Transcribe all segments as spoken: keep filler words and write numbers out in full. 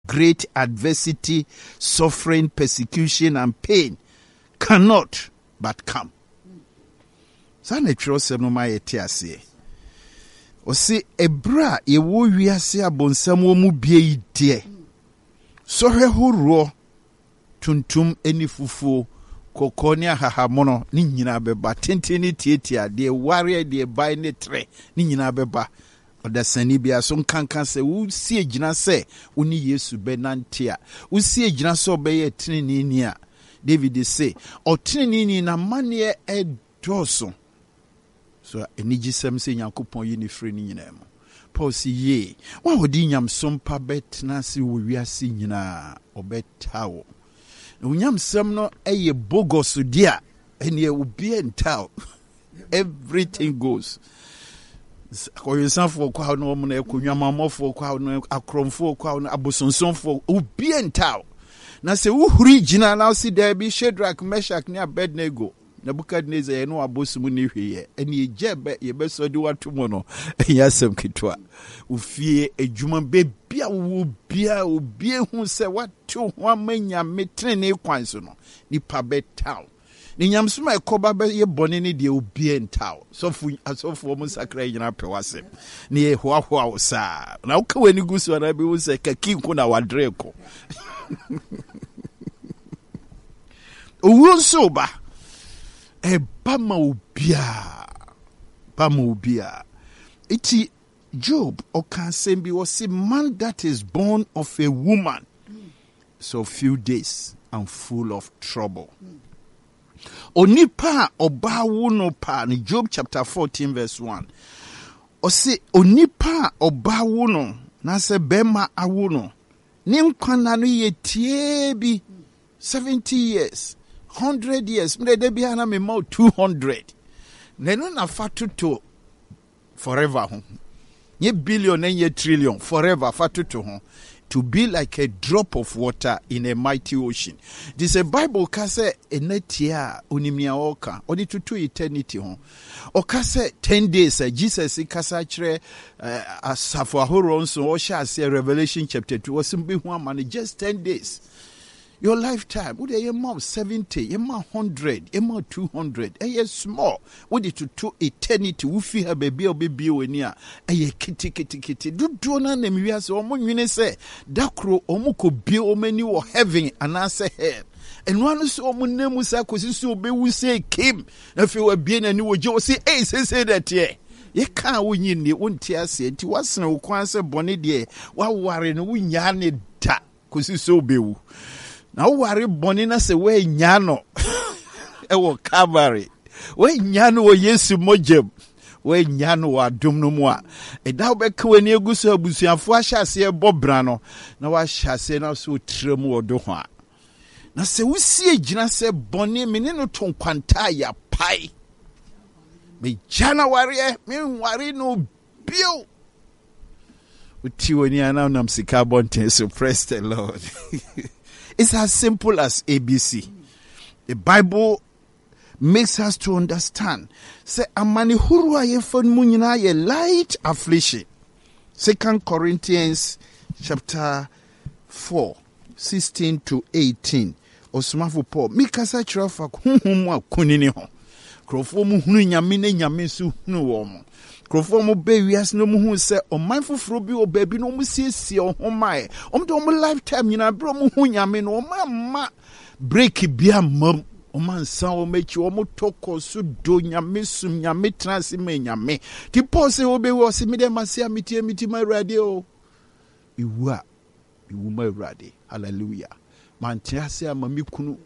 Great adversity, suffering, persecution and pain cannot but come. Saa na twerɛsɛm no ma yɛte aseɛ. Ɔse ɛberɛ a yɛwɔ wiase abonsam wɔ mu bie yi deɛ, sɔhwɛ horoɔ, tuntum ne fufuo, kɔkɔɔ ne ahahamono ne nyinaa bɛba, tenten ne tietia, deɛ wareɛ, deɛ bae ne trɛ ne nyinaa bɛba. Ɔdasani biara so nkanka sɛ wosie gyina sɛ wo ne Yesu bɛnante a, wosie gyina sɛ ɔbɛyɛ teneneeni a, David se ɔteneneeni n'amanneɛ ɛdɔɔso. So anigyesɛm sɛ Nyankopɔn yi ne firi no nyinaa mu. Paul se yie, wɔn a wɔde nyamsom pa bɛtena ase wɔ wiase nyinaa, ɔbɛta wo. Na onyamsɛm no ɛyɛ bogus deɛ a, ɛneɛ obiara nta wo. Everything goes. Akɔwensafoɔ kɔ a na wɔn na ɛkɔ, nwamanmɔfoɔ kɔ a na akorɔmfoɔ kɔ a na abosonsomfoɔ, obiara nta wo. Na sɛ wohuri gyina na wosi daabi, Shadrach, Meshach ne Abednego, Nebukadnezar yɛ no abosom ne hwee ɛne egya bɛ yɛbɛsɔ de wato mu no, ɛnyɛ asɛm ketewa. Ofie, adwuma, beebi a wowɔ biara, obi ehu sɛ wate ho ama Nyame tenenee kwan so no, nipa bɛtaw. Ne nyamsom a ɛkɔba bɛyɛ bɔne ne deɛ, obiara ntaw. Sɔfo, asɔfoɔ mo nsakra nyinaa pɛ w'asɛm ne yɛ hoahoa wo saa na woka w'ani gu so anaa bɛhu sɛ kaki nko na wadere ko. Owuo nso ba, ɛba ma obiara, ba ma obiara. Eti Job ɔka asɛm bi, wɔsi man that is born of a woman so few days and full of trouble. Onipa a ɔbaa wo no paa no, Job chapter fourteen verse one, ɔsi onipa a ɔbaa wo no na sɛ bɛrima awo no, ne nkwa na no yɛ tie bi, seventy years, hundred years, mmerɛ de biara na mema two hundred na ɛno na fa toto forever ho, nye billion na nye trillion, forever fa toto ho, to be like a drop of water in a mighty ocean. Nti sɛ Bible ka sɛ ɛna tie a, onim nea ɔreka. Ɔde toto eternity ho. Ɔka sɛ ten days a Jesus kasa kyerɛ uh, asafo ahoroɔ nso, ɔhyɛ aseɛ Revelation chapter two, ɔsɛ mbɛhu ama no just ten days. Your lifetime wode ɛyɛ ma seventy, yɛma hundred, yɛma two hundred, ɛyɛ small. Wode toto eternity, wofi ha baabi a wobɛbie w'ani a, ɛyɛ keteketekete. Dodoɔ no anam wiase, ɔmo nwene sɛ da koro ɔmo kɔbie ɔmo ani wɔ heaven anaasɛ hell. Ɛno ano sɛ ɔmo nam mu saa kɔsi sɛ ɔbɛwu sɛ kim, na afei wabie n'ani wɔ gye, ɔsɛ ei, seesei dɛ teɛ yɛka a wonyi nnie, wonte aseɛ. Nti woasene wo kwan sɛ bɔne deɛ woaware no, wonyaa ne da kɔsi sɛ wobɛwu. Na woware bɔne na sɛ woanya no ɛwɔ Calvary, woanya no wɔ Yesu mogyam, woanya no wɔ adom no mu a, ɛda wobɛka w'ani agu so, abusuafoɔ ahyɛ aseɛ bɔ bra no na woahyɛ aseɛ na sɛ wotira mu wɔ do ho a, na sɛ wosie gyina sɛ bɔne me ne no to nkwanta a yɛapae, megya no awareɛ, menware no bio, wotie w'ani a na nam sika abɔnten so. Praise the Lord. It's as simple as A B C. The Bible makes us to understand sɛ amane horow a yɛfa no mu nyinaa yɛ light affliction. Second Corinthians chapter four sixteen to eighteen, ɔsomafo Paul mikasa kyerɛ fa honhom mu akunini ho. Nkurɔfoɔ mu hunu Nyame na Nyame nso hunu wɔn mo. Nkurɔfoɔ mu bɛ wiase no mu hu sɛ ɔman foforɔ bi wɔ baabi na wɔn siesie wɔn ho maeɛ. Wɔn de wɔn lifetime nyinaa, berɛ wɔn hu Nyame no, wɔn amma break bi amma mu, wɔn ansa wɔn akyi, wɔn tɔ kɔ so do Nyame, sum Nyame, tena ase ma Nyame. Ti Paul sɛ wɔbɛwu, ɔsɛ mi dɛ ma se a metie mi ti ma Awurade o, ewu a mewu ma Awurade. Hallelujah. Mante ase ama me kunu,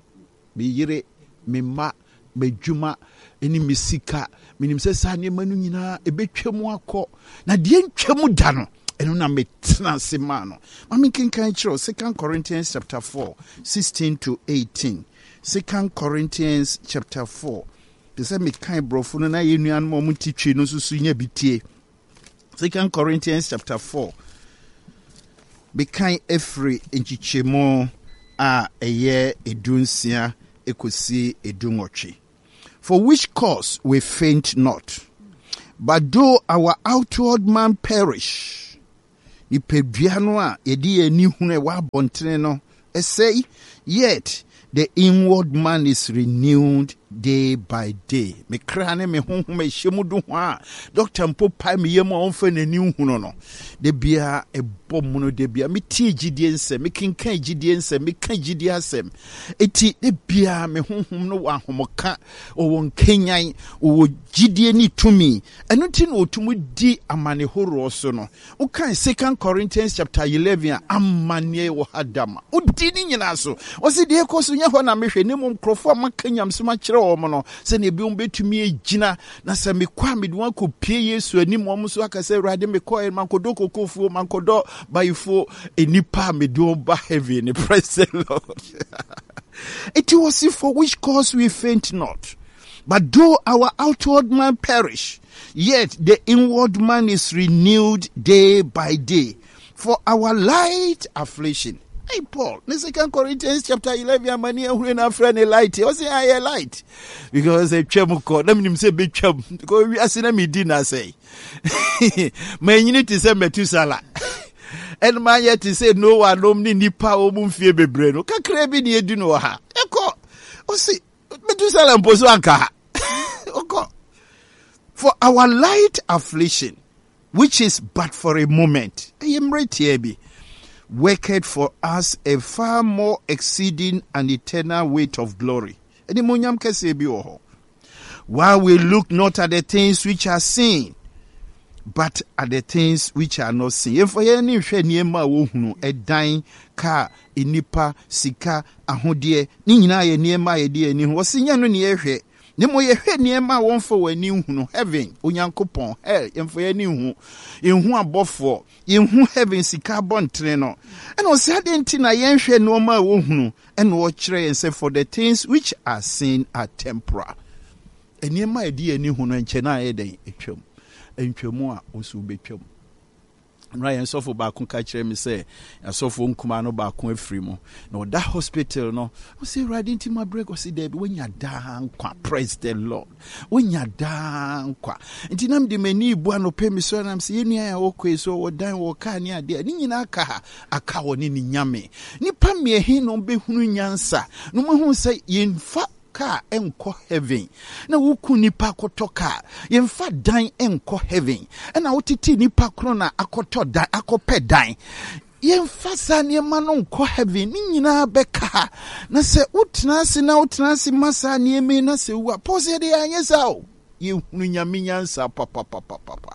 me yere, me mma, m'adwuma ne me sika. Menim sɛ saa nneɛma no nyinaa ɛbɛtwa mu akɔ, na deɛ ntwa mu da no, ɛno na metena ase maa no. Ma menkenkan kyerɛw Second Corinthians chapter four sixteen to eighteen. Second Corinthians chapter four, te sɛ mekan borɔfo no na yɛ nuanom a ɔmo te Twi no nso so nya bi tie. Second Corinthians chapter four, mekan efiri nkyekyɛmu a ɛyɛ edu nsia ekosi edu nwɔtwe. For which cause we faint not, but though our outward man perish, Nipadua no a yɛde yɛn ani hunu ɛwɔ abɔntene no ɛsɛe, yet the inward man is renewed day by day. Me kra ne me honhom ɛhyɛ mu do ho a doctor mpo pae me yam a ɔmfa n'ani nhunu no, da biara ɛbɔ mu no, da biara metie gyidie nsɛm, mekenkan gyidie nsɛm, meka gyidie asɛm. Eti da biara me honhom no wɔ ahomka, ɔwɔ nkanyan, ɔwɔ gyidie ne tumi. Ɛno nti na ɔtumi di amane horoɔ so no. Wokan Second Corinthians chapter eleven a, amanneɛ wɔ ha dama wodi ne nyinaa so. Ɔse deɛ ɛkɔ so nyɛ hɔ na mehwɛ, ne mmom nkurɔfoɔ a maka nyamesɛm akyerɛ wɔn no, sɛnea ebinom bɛtumi agyina, na sɛ mekɔ a, mede wɔn akɔpie Yesu anim, wɔn nso aka sɛ, "Awurade, mekɔɛ mankɔdɔ kokofuo, mankɔdɔ bayifoɔ, nnipa a mede wɔn ba heaven." Praise the Lord. It was for which cause we faint not, but though our outward man perish, yet the inward man is renewed day by day. For our light affliction. Hey Paul, in Second Corinthians chapter eleven, amani ehuru na frɛ ne light. Ɔse ayɛ light because etwam kɔ. Na minim sɛ betwam because wiase na mi di na sɛ. Manyini te sɛ Metusala. Ɛna mayɛ te sɛ Noah nom ne nipa a wɔn mfie bebree no. Kakra bi ne edi no wɔ ha. Ɛkɔ. Ɔse Metusala mpo so anka ha. Ɔkɔ. For our light affliction, which is but for a moment, ɛyɛ mmerɛ tia bi, worketh for us a far more exceeding and eternal weight of glory. Animuonyam kɛseɛ bi wɔ hɔ. While we look not at the things which are seen, but at the things which are not seen. Yɛmfa yɛn ani nhwɛ nneɛma a wɔhunu, ɛdan, kaa, nnipa, sika, ahodeɛ, ne nyinaa yɛ nneɛma a yɛde yɛn ani hu. Wɔsi nyɛ no ne yɛhwɛ. Ne mo yɛhwɛ nneɛma a wɔmfa wɔn ani nhunu, heaven, Onyankopɔn, hell, yɛmfa yɛn ani nhu. Yɛnhu abɔfoɔ, yɛnhu heaven sika abɔntene no. Ɛna ɔsɛ adeɛ nti na yɛnhwɛ nneɛma a wɔhunu, ɛna ɔkyerɛ yɛn sɛ for the things which are seen are temporal. Nneɛma a yɛde yɛn ani hu no nkyɛn na ayɛ dɛn atwam. Ntwamu a nso wobɛtwam. Nnora yɛn sɔfo baako ka kyerɛ me sɛ asɔfoɔ nkumaa no baako afiri mu na ɔda hospital no. Ɔsɛ, "Awurade nti ma brɛ." Ɔsɛ daabi, woanya daa nkwa. Praise the Lord. Wonya daa nkwa nti na mede m'ani bu anɔpɛ mi so nam sɛ yɛnnua a wɔkɔe so wɔ dan wɔ kaa ne adeɛ ne nyinaa ka ha aka wɔ ne ne Nyame. Nnipa mmiɛhe na ɔmbɛhunu nyansa na ɔmahu sɛ yɛmfa kaa nkɔ heaven, na woku nipa akɔtɔ kaa, yɛmfa dan nkɔ heaven, ɛna wotete nipa koro na akɔtɔ dan, akɔpɛ dan, yɛmfa saa nneɛma no nkɔ heaven. Ne nyinaa bɛka ha. Na sɛ wotena ase na wotena ase ma saa nneɛma yi na sɛ wu a, Paul sɛ yɛde yɛanyɛ saa o, yɛhunu Nyame nyansa papapapapa.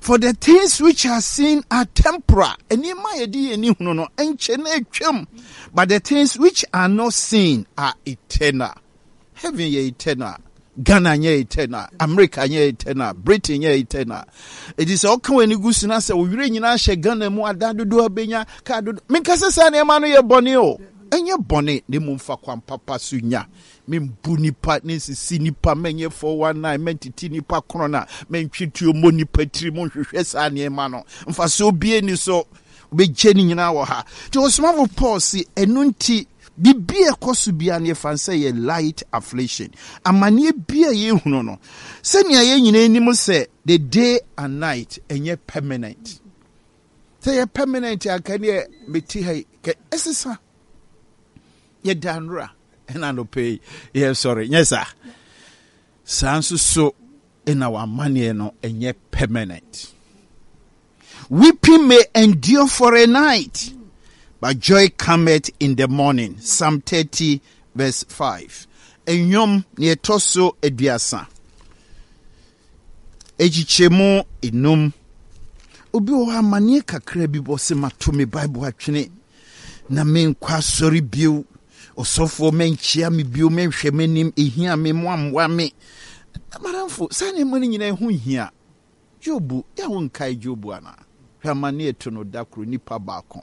For the things which are seen are temporal, nneɛma a yɛde yɛn ani hunu no nkyɛ na atwam, but the things which are not seen are eternal. Heaven yɛ eternal, Ghana nyɛ eternal, America nyɛ eternal, Britain nyɛ eternal. Eti sɛ ɔka w'ani gu so na sɛ owurɛ nyinaa hyɛ Ghana mu, adan dodoɔ abɛnya, kaa dodoɔ, menka sɛ saa nneɛma no yɛ bɔne o, ɛnyɛ bɔne, na mmom fa kwan papa so nya. Membu nipa ne nsisi nipa, mɛnyɛ four one nine, mɛntete nipa korɔ na mɛntwe tuo mmɔ nipa tiri mu. Nhwehwɛ saa nneɛma no, mfasoɔ bie ni so, wobɛgye ne nyinaa wɔ ha. Nti ɔsomafo Paul si ɛno nti biribi a ɛkɔ so biara no yɛfa sɛ yɛ light affliction, amanneɛ bi a yɛhunu no, sɛnea yɛn nyinaa anim sɛ the day and night ɛnyɛ permanent. Sɛ yɛ permanent anka neɛ mete ha yi kɛ ɛsesa. Yɛda nnora ɛna anɔpɛ yi yɛsɔre, nyɛ saa. Saa nso so ɛna w'amanneɛ no ɛnyɛ permanent. Weeping may endure for a night, but joy cometh in the morning. Psalm thirty verse five. Nnwom ne ɛtɔ so aduasa ekyikyɛmu enum. Obi wɔ hɔ, amanneɛ kakra bi bɔ sɛ mato me Bible atwene na menkɔ asɔre bio, ɔsɔfoɔ mankyia me bio, menhwɛ m'anim, ɛhia me moammoa me. Madamfo, saa nneɛma no nyinaa ɛho hia. Job yɛ, wo nkae Job anaa? Hwɛ amanneɛ ɛto no. Da koro nipa baako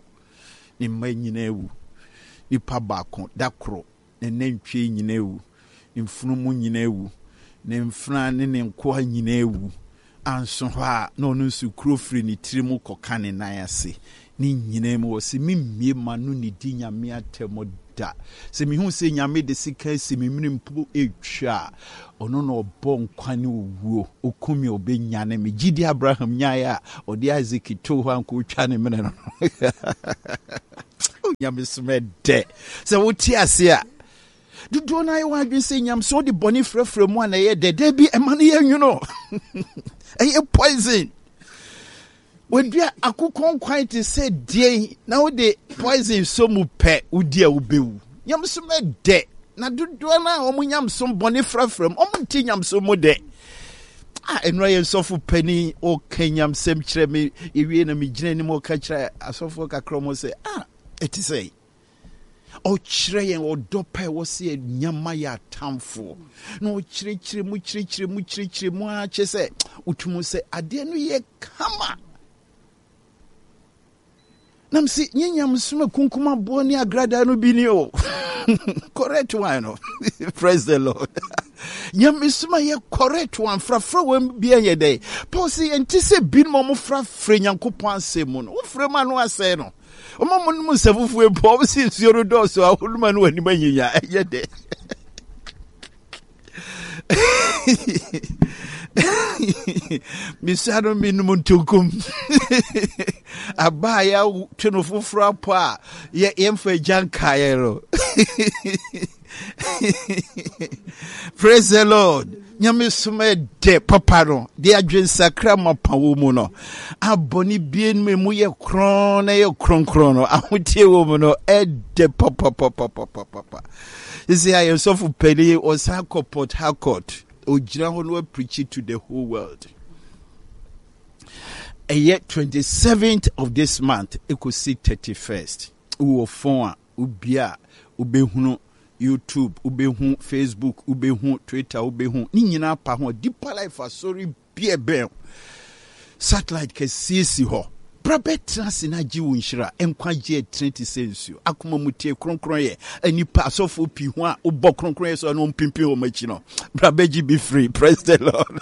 ne mma nyinaa wu, nipa baako da koro ne nantwie nyinaa wu, ne mfunumu nyinaa wu, ne mfena ne ne nkoa nyinaa wu. Anso hɔ a na ɔno nso kuro firi ne tiri mu kɔka ne nan ase. Ne nyinaa mu wɔ sɛ memmie ma no ne di Nyame atɛm da. Sɛ mehu sɛ Nyame de sika asi me mene mpo ɛtwa a, ɔno na ɔbɔ nkwa ne owuo. Ɔkum me, ɔbɛnyane me. Gyidi Abraham nyaeɛ a ɔde Isaac too hɔ anka ɔtwa ne mene no. Nyame som ɛdɛ. Sɛ wote ase a, dodoɔ no ayɛ wɔn adwene sɛ nyam sɛ wode bɔne frɛfrɛ mu a na ɛyɛ dɛ. Bi ɛma no yɛ nwono, ɛyɛ poison. Wadua akokɔ nkwan te sɛ deɛn na wode poison so mu pɛ, wodi a wobɛwu. Nyamsom ɛdɛ, na dodoɔ no a wɔn nyamsom bɔne frɛfrɛ mu, wɔn nte nyamsom mu dɛ. A ɛnura yɛn sɔfo panin ɔka nyamsɛm kyerɛ me ewie na megyina anim, ɔka kyerɛ asɔfoɔ kakra wɔn sɛ, ah, ɛte sɛ ɔkyerɛ yɛn ɔdɔ pa ɛwɔ sɛ nyama yɛ atamfoɔ, na ɔkyerɛkyerɛ mu, kyerɛkyerɛ mu, kyerɛkyerɛ mu ara kyerɛ sɛ wotum sɛ adeɛ no yɛ kama. Nam sɛ nyɛ nyamesom akunkum aboɔ ne agradaa no bi ni o, correct one no. Praise the Lord. Nyamesom a yɛ correct one, frafra wɔn bi yɛ dɛ. Paul sɛ yɛnte sɛ binom a wɔfrafra Nyankopɔn asɛm mu no. Wofrɛ mu ano asɛe no. Ɔma mo nom nsa fufuo mpo, ɔmo sɛ nsuo no dɔɔso a, wonom a no w'anim anyinya. Ɛyɛ dɛ. Mesua no, menom ntonkom aba a yɛatwe no foforɔ apɔ a yɛmfa agya nkaeɛ no. Praise the Lord. Nyame som ɛdɛ papa no de adwensakra mapa wɔ mu no, abɔne bie no mu yɛ korɔn na yɛ kronkron no, ahotie wɔ mu no, ɛdɛ papapapapapapa. Sisi a yɛn sɔfo panin ɔsan kɔ Port Harcourt, ogyina hɔ no apreach to the whole world. Ɛyɛ twenty-seventh of this month ekosi thirty-first. Wowɔ phone a, obi a wobɛhunu YouTube, wobɛhu Facebook, wobɛhu Twitter, wobɛhu ne nyinaa pa ho. Deeper Life Asɔre bia bɛn satellite kɛseɛ si hɔ. Bra bɛtena ase na agye wo nhyira. Nkwagye ɛtene te sɛ nsuo. Akoma mu tie kronkron yɛ nipa asɔfoɔ pii ho a wobɔ kronkron yɛ so ɛno mpimpin wɔn akyi no. Bra bɛgye bi free. Praise the Lord,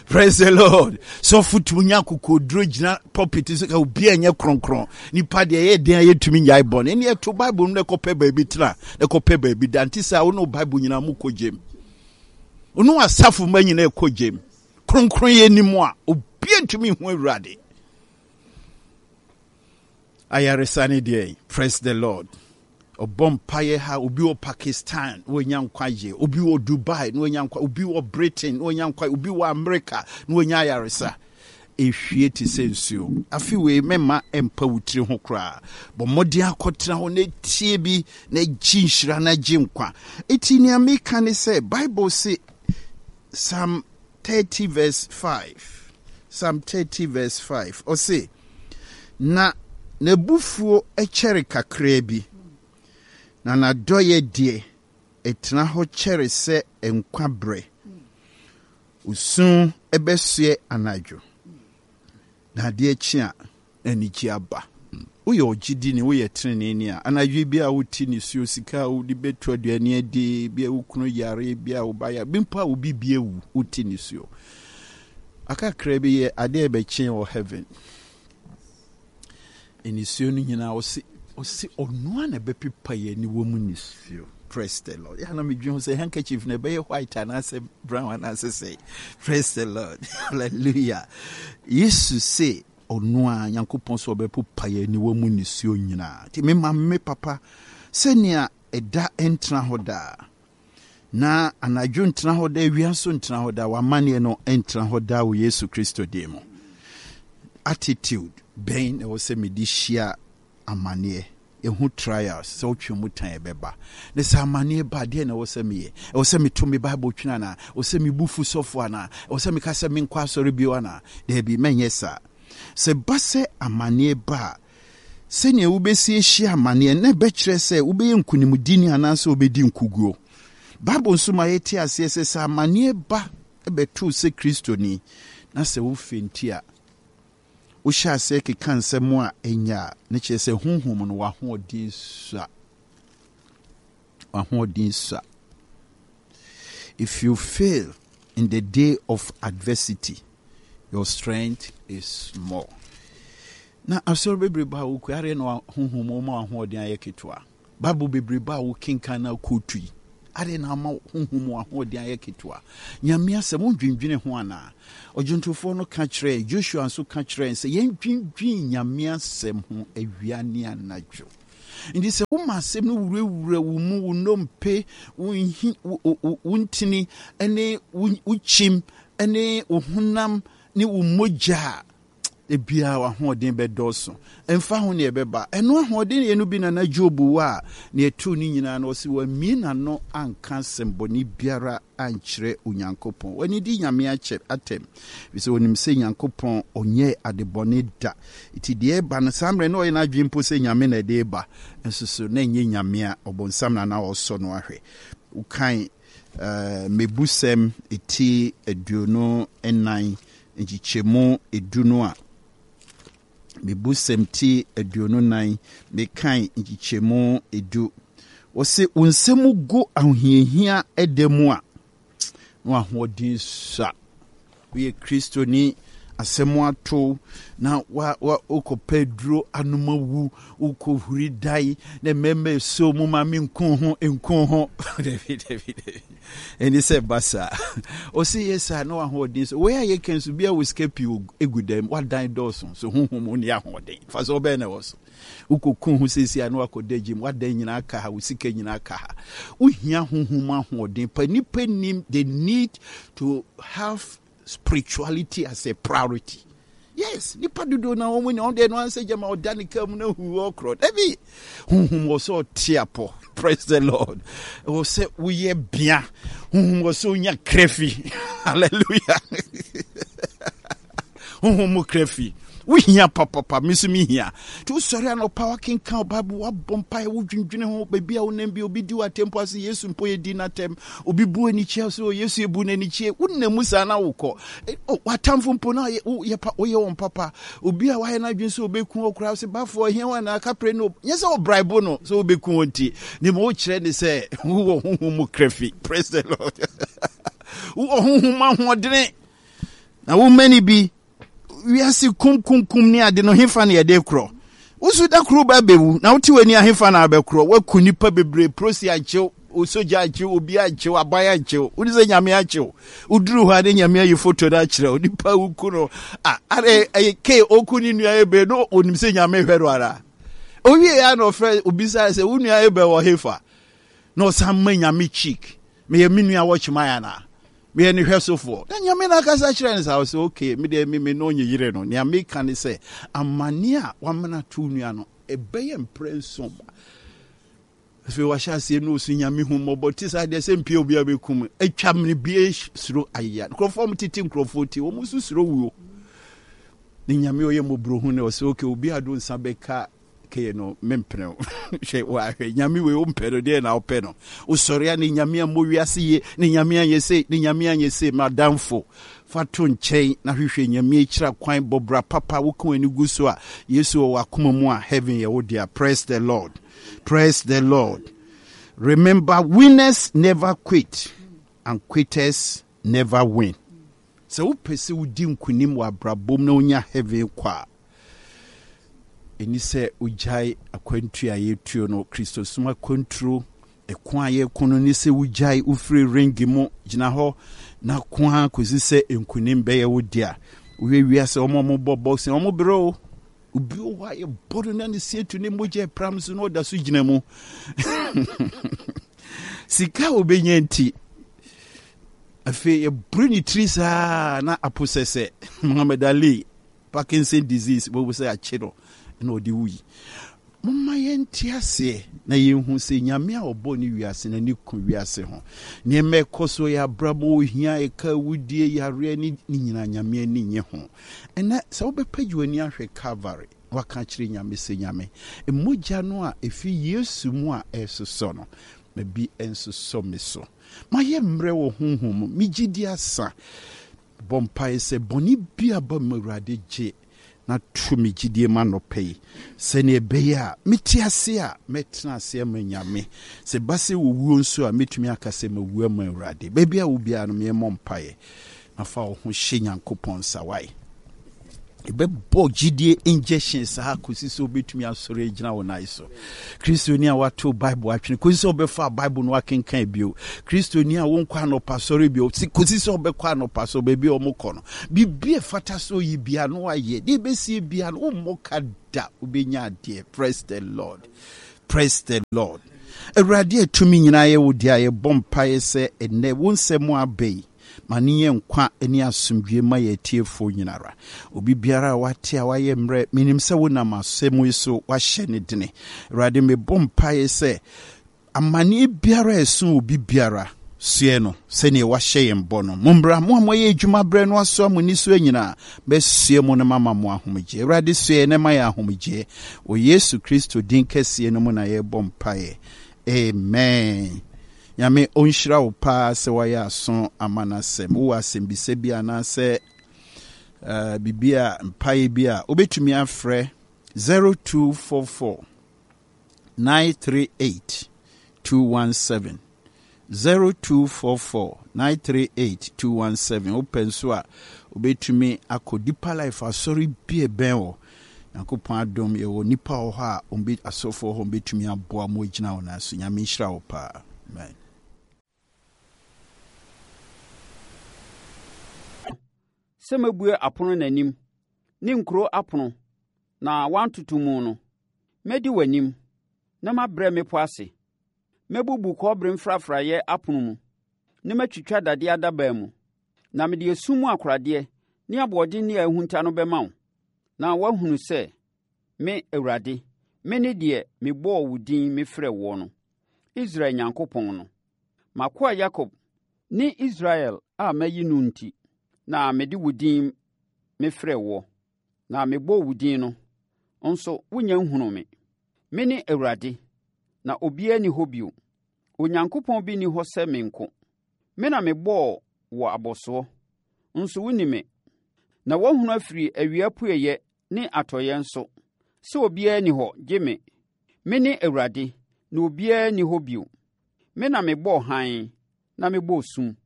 praise the Lord. Sɔfo tumi nya akokoduro gyina pulpit so ka obi a ɛnyɛ kronkron. Nipa deɛ ɛyɛ den a yɛtumi nyae bɔne ɛne ɛto Bible no na ɛkɔpɛ baabi tena na ɛkɔpɛ baabi da. Nti sɛ wo ne wo Bible nyinaa mu kɔ gyem, wo ne asafo ma nyinaa ɛkɔ gyem. Kronkron yɛ anim a obi ntumi hu Awurade. Ayaresa ne deɛ. Praise the Lord. Ɔbɔ mpaeɛ ha, obi wɔ Pakistan na wanya nkwagye, obi wɔ Dubai na wanya nkwa, obi wɔ Britain na wanya nkwa, obi wɔ America na wanya ayaresa. Ehwie te sɛ nsuo. Afi wei mɛma mpa wo tiri ho koraa. Bɔ mmɔden akɔtena hɔ na etie bi na gye nhyira na gye nkwa. Eti nea meka ne sɛ Bible se Psalm thirty verse five, Psalm thirty verse five, ɔse na n'abufuo kyɛre kakraa bi, na n'adɔeɛ deɛ ɛtena hɔ kyɛre sɛ nkwa berɛ. Osu bɛsoɛ anadwo, na adeɛ kye a, anigye aba. Woyɛ ɔgyedini, woyɛ teneneeni a, anadwo bi a wote nisuo, sika a wode bɛtu aduane adi, bi a wo kunu yare, bi a wo ba yare, bi mpo a wo bibi awu, wote nisuo. Akakra bi yɛ adeɛ bɛkye wɔ heaven. Nisuo no nyinaa, ɔse ɔse ɔno a na ɛbɛpepa yɛn aniwa mu nisuo. Praise the Lord. Yɛn na medwene ho sɛ handkerchief na ɛbɛyɛ white anaasɛ brown anaasɛ sɛ. Praise the Lord. Hallelujah. Yesu se ɔno a Nyankopɔn sɛ ɔbɛpopa yɛn aniwa mu nisuo nyinaa. Nti mema me papa sɛnea ɛda ntena hɔ daa, na anadwo ntena hɔ daa, awia nso ntena hɔ daa, w'amanneɛ no ntena hɔ daa wɔ Yesu Kristo din mu. Attitude bɛn na ɛwɔ sɛ mede hyia amanneɛ? Ɛho trials sɛ wotwe mu tan ɛbɛba. Ne sɛ amanneɛ ba, deɛ na ɛwɔ sɛ meyɛ? Ɛwɔ sɛ meto me Bible twene anaa? Ɛwɔ sɛ mebu fu sɔfo anaa? Ɛwɔ sɛ meka sɛ menkɔ asɔre bio anaa? Daabi, mɛnyɛ saa. Sɛ ba sɛ amanneɛ ba a, sɛnea wobɛsi ahyia amanneɛ na ɛbɛkyerɛ sɛ wobɛyɛ nkonimdini anaasɛ wobɛdi nkoguo. Bible nso ma yɛte aseɛ sɛ sɛ amanneɛ ba bɛtoo sɛ Kristoni na sɛ wofenti a, wohyɛ aseɛ keka nsɛm a ɛnyɛ a, ne kyerɛ sɛ honhom no w'ahoɔden sua. W'ahoɔden sua. If you fail in the day of adversity, your strength is small. Na asɔre bebrebe a wokɔ adeɛ na honhom ma ahoɔden ayɛ ketewa. Bible bebrebe a wokenkan na kootu yi, adeɛ na ama honhom ahoɔden ayɛ ketewa. Nyame asɛm wondwendwene ho anaa? Ɔdwontofoɔ no ka kyerɛɛ Joshua nso ka kyerɛɛ sɛ yɛndwendwen Nyame asɛm ho awia ne anadwo. Nti sɛ woma asɛm no wurawura wo mu, wo nnompe, wo nhi, wo ntini ne wo kyim ne wo honam ne wo mogya a, ebia w'ahoɔden bɛdɔɔso. Ɛmfa ho nea ɛbɛba. Ɛno ahoɔden yɛ no bi na na Job wɔ a, nea ɛtoo ne nyinaa no, ɔse wammue n'ano anka asɛmmɔne biara ankyerɛ Onyankopɔn. Wanidi Nyame akyɛ atɛm, efisɛ onim sɛ Nyankopɔn ɔnyɛɛ adebɔne da. Nti deɛ ɛba no, saa mmerɛ na ɔyɛ n'adwene mpo sɛ Nyame na ɛde reba, nso so na ɛnyɛ Nyame a, ɔbonsam na na ɔresɔ no ahwɛ. Wokan uh, Mmebusɛm ti aduonu nnan nkyekyɛmu edu no a, Mmebusɛm ti aduonu nnan, mekan nkyekyɛmu edu. Wɔse wo nsɛm gu ahohiahia ɛda mu a, na w'ahoɔden sua. Woyɛ Kristoni, asɛm ato na wa wa wokɔpɛ aduro anom awu, wokɔhuri dan na mmarima ɛsɔ mu ma me nku ho nku ho. Dabi dabi dabi. Ɛne sɛ ba saa. Ɔse yɛ saa na w'ahoɔden so. Wei a yɛka nso bi a wɔ sika pii egu dɛm, wadan dɔɔso so honhom mu ne ahoɔden. Fa so ɔbɛn na ɛwɔ so. Wokɔku ho seesei a na wakɔda gyem, wadan nyinaa ka ha, wo sika nyinaa ka ha. Wohia honhom mu ahoɔden pa. Nnipa nim the need to have spirituality as a priority. Yes, nipa dodoɔ na wɔn ni wɔn deɛ no ansɛ gyama ɔda ne kaa mu na hu ɔkorɔ. Dabi, honhom wɔ sɛ ɔte apɔ. Praise the Lord. Wɔ sɛ woyɛ bea. Honhom wɔ sɛ onya krafi. Hallelujah. Honhom mu krafi. Wohia papapa, me nso mehia. Nti wosɔre anɔpa wakenkan Bible, wabɔ mpaeɛ, wodwendwene ho, baabi a wonam bi, obi di w'atɛm mpo ase, Yesu mpo yɛdi n'atɛm, obi bu anikyia so, Yesu ebu n'anikyie, wonam mu saa na wokɔ. W'atamfo mpo na woyɛ wɔn papa. Obi a wayɛ n'adwene sɛ obeku wo koraa, sɛ bafoɔ ahia wɔn anaa kapre no, nyɛ sɛ ɔbraibo no sɛ wobeku wɔn nti, ne ma wokyerɛ ne sɛ wowɔ honhom mu krafi. Praise the Lord. Wowɔ honhom ahoɔdene na womani bi wiase kumkumkum ne ade no hefa na yɛde korɔ? Woso da koro ba bɛwu na wote w'ani ahefa na abɛkorɔ? Woaku nnipa bebree, prosi ankyew, osogya ankyew, obi ankyew, aban ankyew, wode sɛ Nyame akyew. Woduru hɔ a ne Nyame ayi foto no akyerɛ wo, nipa woku no a are ɛyɛ ke oku ne nua ebe no, onim sɛ Nyame hwɛ no ara. Owie ya na ɔfrɛ obisa sɛ wo nua ebe wɔ hefa? Na ɔsan ma Nyame cheek, meyɛ me nua wɔkyeman anaa? Meyɛ ne hwɛsofoɔ. Na Nyame no akasa kyerɛ no saa, ɔsɛ okay, me deɛ me me no nye yere no. Nea meka ne sɛ, amane a wamena to nua no, ɛbɛyɛ mprɛ nson ba. Afei wahyɛ aseɛ no ɔsu Nyame hu mmɔbɔ te saa deɛ sɛ mpie obi a bɛkum atwa mene bie suro ayeya. Nkurɔfoɔ wɔn tete nkurɔfoɔ ti, wɔn nso suro wuo. Ne Nyame ɔyɛ mmɔborɔhu no, ɔsɛ okay, obi a do nsa bɛka kɛyɛ no mempene wo. Hwɛ wahwɛ Nyame wei wompɛ no deɛ na wopɛ no. Wosɔre a ne Nyame ammɔ wiase yie, ne Nyame anyɛ sei, ne Nyame anyɛ sei. Madamfo, fa to nkyɛn na hwehwɛ Nyame akyira kwan, bɔ bra papa, woka w'ani gu so a Yesu wɔ w'akoma mu a heaven yɛ wo dea. Praise the Lord. Praise the Lord. Remember, winners never quit and quitters never win. Sɛ wopɛ sɛ wodi nkonim wɔ abrabɔ mu na wonya heaven kɔ a, ɛni sɛ wogyae akwantuo a yɛtuo no, Kristosom akwanturo, ɛko a yɛko no ne sɛ wogyae wofiri ringi mu gyina hɔ na ko ara kɔsi sɛ nkonim bɛyɛ wo dea. Wohwɛ wiase wɔn a wɔbɔ boxing, wɔn brɛ o. Obi wɔ hɔ a yɛbɔ no na ne sie tu ne mogya pram so na ɔda so gyina mu. Sika a obɛnya nti, afei yɛboro ne tiri saa na apo sɛ sɛ Muhammad Ali, Parkinson disease bɛbu sɛ akye no na ɔde wui. Momma yɛnte aseɛ na yɛnhu sɛ Nyame a ɔbɔɔ ne wiase no ani ku wiase ho. Nneɛma ɛkɔ so yɛ abrabɔ, ohia, ɛka, awudie, yareɛ ne ne nyinaa Nyame ani nye ho. Ɛnɛ sɛ wobɛpagye w'ani ahwɛ Calvary na waka akyerɛ Nyame sɛ Nyame, mogya no a ɛfiri Yesu mu a ɛresosɔ no, ma bi nsosɔ me so. Mayɛ mmerɛ wɔ honhom mu, me gyidie asa. Bɔ mpaeɛ sɛ bɔne bi aba mu Awurade gye na to me gyidie mu anɔpa yi sɛdeɛ ɛbɛyɛ a mete ase a mɛtena ase ama Nyame. Sɛ ɛba sɛ wɔwuo nso a mɛtumi aka sɛ mawu ama Awurade. Baabi a wo biara no meɛmmɔ mpaeɛ na fa wo ho hyɛ Nyankopɔn nsa wae. Yɛbɛbɔ gyidie injection saa kɔsi sɛ wobɛtumi asɔre agyina wo nan so. Kristoni a wato Bible atwene kɔsi sɛ wobɛfa Bible no wakenkan bio. Kristoni a wonkɔ anɔpa sɔre bio kɔsi sɛ wobɛkɔ anɔpa sɔre baabi a wɔkɔ no. Biribi a ɛfata sɛ oyi bia no wayɛ. Deɛ ɛbɛsie bia no wommɔ ka da, wobɛnya adeɛ. Praise the Lord. Praise the Lord. Awurade a tumi nyinaa yɛ wo deɛ a yɛbɔ mpaeɛ sɛ ɛnnɛ wo nsɛm aba yi ma ne yɛ nkwa ne asomdwie ma yɛ atiefoɔ nyinara. Obi biara a wate a wayɛ mmerɛ, menim sɛ wonam asɛm yi so wahyɛ ne dene. Awurade, mebɔ mpaeɛ sɛ amanneɛ biara a ɛso obi biara soɛ no sɛnea wahyɛ yɛn bɔ no. Mommra, mo a moayɛ adwuma berɛ no asoa mo nisuo nyinaa, mɛsoɛ mo no mama mo ahomegyeɛ. Awurade, soɛ na ma yɛ ahomegyeɛ. Wɔ Yesu Kristo din kɛseɛ no mu na yɛrebɔ mpaeɛ. Amen. Nyame ɔnhyira wo paa sɛ wayɛ aso ama n'asɛm. Wowɔ asɛmbisa bi anaasɛ uh, biribi a mpaeɛ bi a wobɛtumi afrɛ zero two four four nine three eight two one seven, zero two four four nine three eight two one seven. Wopɛ nso a wobɛtumi akɔ Deeper Life asɔre bi ɛbɛn wɔ. Nyankopɔn adom yɛwɔ nipa wɔ hɔ a ɔmbe asɔfoɔ hɔ ɔmbɛtumi aboa mo agyina wo nan so. Nyame nhyira wo paa. Amen. Sɛ mɛbue apono n'anim ne nkuro apono na wɔantoto mu no, mɛdi w'anim na mabrɛ mmepɔ ase. Mɛbubu kɔbere mfrafraeɛ apono mu na matwitwa dadeɛ adaban mu. Na mede esum mu akoradeɛ ne aboɔden a ahunta no bɛma wo, na woahunu sɛ me Awurade, me ne deɛ mebɔɔ wo din mefrɛɛ woɔ no, Israel Nyankopɔn no. M'akoa Yakob ne Israel a mayi no nti, na mede wo din mefrɛɛ woɔ, na mebɔɔ wo din no, nso wonnya nhunuu me. Me ne Awurade, na obiara nni hɔ bio. Onyankopɔn bi nni hɔ sɛ me nko. Me na mebɔɔ wo abɔsoɔ, nso wonni me. Na woahunu afiri awia apueeɛ ne atɔeɛ nso, sɛ obiara nni hɔ gye me. Me ne Awurade, na obiara nni hɔ bio. Me na mebɔɔ hann, na mebɔɔ sum.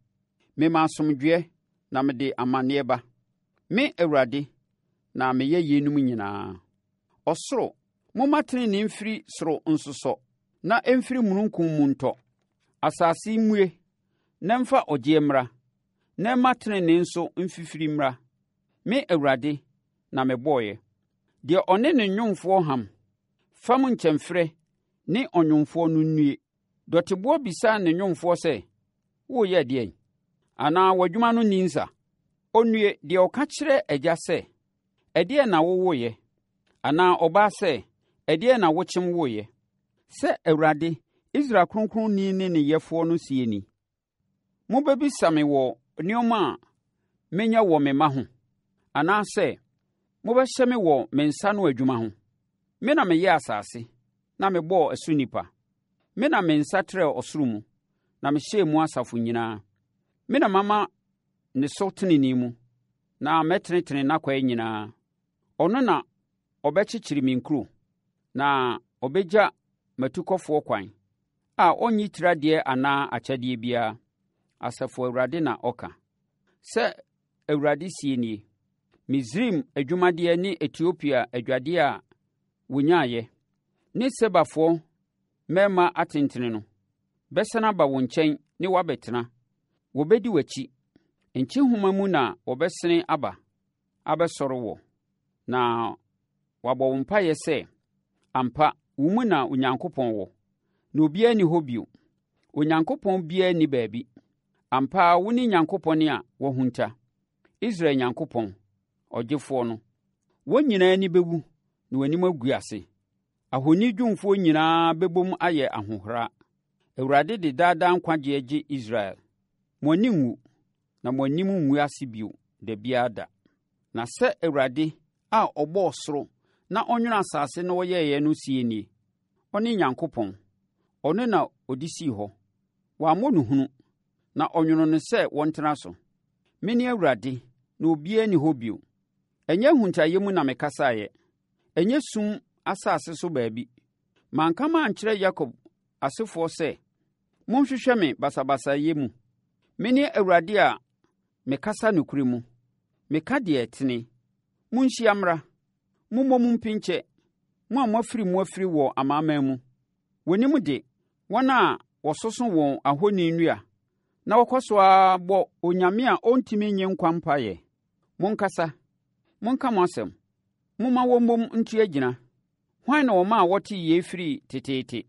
Mema asomdwoeɛ, na mede amanneɛ ba. Me Awurade, na meyɛ yeinom nyinaa. Ɔsoro, momma tenenee mfiri soro nsosɔ, na ɛmfiri mununkum mu ntɔ. Asase mmue, na ɛmfa ɔgyeɛ mmra, na ɛmma tenenee nso mfifiri mmra. Me Awurade na mebɔeɛ. Deɛ ɔne ne nnwomfoɔ ham, fam nkyɛmferɛ ne ɔnwomfoɔ no nnue. Dɔteboɔ bisa ne nnwomfoɔ sɛ, Woreyɛ deɛn? Anaa w'adwuma no nni nsa? Onnue, deɛ ɔka kyerɛ agya sɛ, Ɛdeɛn na wowoeɛ? Anaa ɔbaa sɛ, Ɛdeɛn na wokyem woeɛ? Sɛ Awurade, Israel Kronkronni ne ne yɛfoɔ no sie ni. Mobɛbisa me wɔ nneɛma a menya wɔ me mma ho, anaasɛ mobɛhyɛ me wɔ me nsa no adwuma ho. Me na meyɛɛ asase, na mebɔɔ ɛso nnipa. Me na me nsa trɛɛ ɔsoro mu, na mehyɛɛ mu asafo nyinaa. Me na mama ne so tenenee mu, na mɛtenetene n'akwan nyinaa. Ɔno na ɔbɛkyekyere me nkuro, na ɔbɛgya m'atukɔfoɔ kwan, a ɔnnyi tiradeɛ anaa akyɛdeɛ biara. Asafo Awurade na ɔka. Sɛ Awurade sie nie, Misraim adwumadeɛ ne Etiopia adwadeɛ a wonyaeɛ, ne Sebafoɔ mmarima atentene no, bɛsane aba wo nkyɛn ne woabɛtena. Wɔbɛdi w'akyi. Nkyehoma mu na wɔbɛsene aba abɛsɔre wɔ, na wɔabɔ wo mpaeɛ sɛ, ampa, wo mu na Onyankopɔn wɔ, na obiara nni hɔ bio. Onyankopɔn biara nni baabi. Ampa ara wo ne Nyankopɔn a woahunta, Israel Nyankopɔn, ɔgyefoɔ no. Wɔn nyinaa ani bɛwu na wɔn anim agu ase. Ahoni dwumfoɔ nyinaa bɛbom ayɛ ahohora. Awurade de daadaa nkwagyeɛ gye Israel. Mo ani nwu, na mo anim ngu ase bio da biara da. Na sɛ Awurade a ɔbɔɔ soro na ɔnwene asase na ɔyɛeɛ no sie nie, ɔne Nyankopɔn, ɔno na ɔde sii hɔ. Wammɔ no hunu, na ɔnwono no sɛ wɔntena so. Mene Awurade, na obiara nni hɔ bio. Ɛnyɛ ahuntaeɛ mu na mekasaeɛ, ɛnyɛ sum asase so baabi. Manka mankyerɛ Yakob asefoɔ sɛ, Monhwehwɛ me basabasayɛ mu. Mene Awurade a mekasa nokorɛ mu. Meka deɛ ɛtene. Monhyia mmra, mommɔ mu mpinkyɛ, mo a moafiri mu afiri wɔ amanaman mu. Wɔnnim de, wɔn a wɔsoso wɔn ahoni nnua na wɔkɔ so ara bɔ onyame a ɔntumi nnye nkwa mpaeɛ. Monkasa, monka mo asɛm; momma wɔmmom ntu agyina. Hwan na ɔmaa wɔtee yei firii teteete?